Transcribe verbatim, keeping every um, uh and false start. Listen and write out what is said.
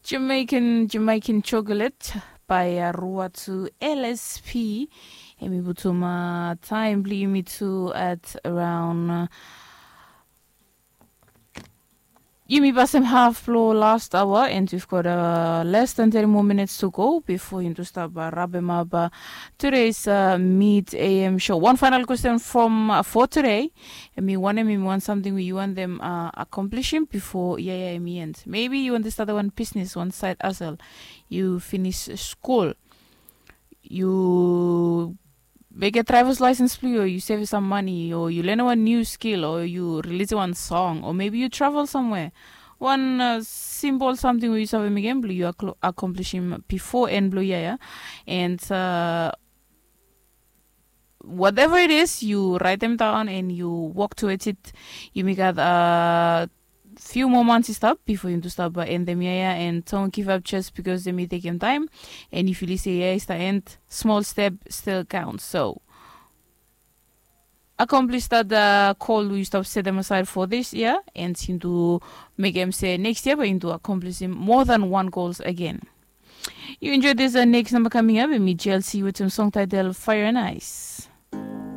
Jamaican Jamaican Chocolate by Ruatu L S P. Emi butum uh, time bli yumi tu at around uh, yumi basem half blo last hour and we've got uh, less than thirty more minutes to go before yumi to stop uh, rabem up uh, today's uh, mid A M show. One final question from uh, for today. Emi wanem emi wan something we you want them uh, accomplishing before yeah yeah emi end. Maybe you want to start one business, one side hustle. You finish school. You make a driver's license blo you, you save some money, or you learn one new skill, or you release one song, or maybe you travel somewhere. One uh, simple something we you save again blo you accomplish him before end blo yeah yeah. And uh, whatever it is, you write them down and you walk towards it. You make a uh, few more months stop before you to stop uh, end them yeah and don't give up just because they may take them time. And if you say yeah, it's the end, small step still counts. So accomplish that uh, call you stop set them aside for this year and into make them say next year but into accomplishing more than one goals again. You enjoy this uh, next number coming up and me G L C with some song title Fire and Ice.